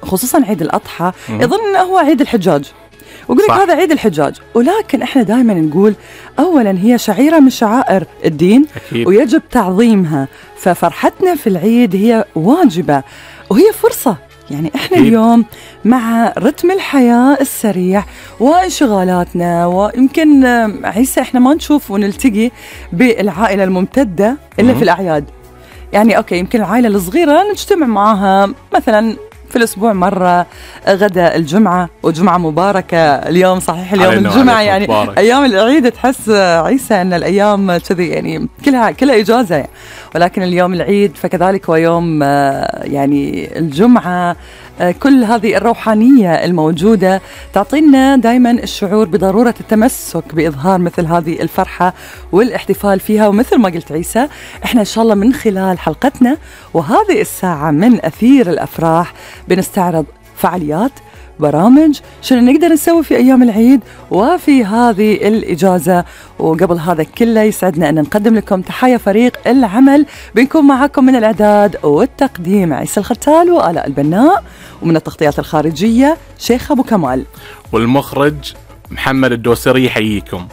خصوصا عيد الأضحى يظن أنه هو عيد الحجاج، ويقول لك هذا عيد الحجاج، ولكن إحنا دائما نقول أولا هي شعيرة من شعائر الدين أكيد. ويجب تعظيمها، ففرحتنا في العيد هي واجبة وهي فرصة. يعني إحنا أكيد. اليوم مع رتم الحياة السريع وانشغالاتنا، ويمكن عيسى إحنا ما نشوف ونلتقي بالعائلة الممتدة إلا في الأعياد. يعني أوكي يمكن العائلة الصغيرة نجتمع معها مثلا في الأسبوع مرة، غدا الجمعة، وجمعة مباركة اليوم، صحيح اليوم الجمعة يعني مبارك. أيام العيد تحس عيسى أن الأيام كذي يعني كلها إجازة يعني. ولكن اليوم العيد فكذلك هو يوم يعني الجمعة. كل هذه الروحانية الموجودة تعطينا دايما الشعور بضرورة التمسك بإظهار مثل هذه الفرحة والاحتفال فيها. ومثل ما قلت عيسى، احنا إن شاء الله من خلال حلقتنا وهذه الساعة من أثير الأفراح بنستعرض فعاليات، برامج، شنو نقدر نسوي في أيام العيد وفي هذه الإجازة. وقبل هذا كله يسعدنا أن نقدم لكم تحايا فريق العمل. بنكون معكم من الإعداد والتقديم عيسى الختال وآلاء البناء، ومن التغطيات الخارجية شيخ أبو كمال، والمخرج محمد الدوسري. يحييكم.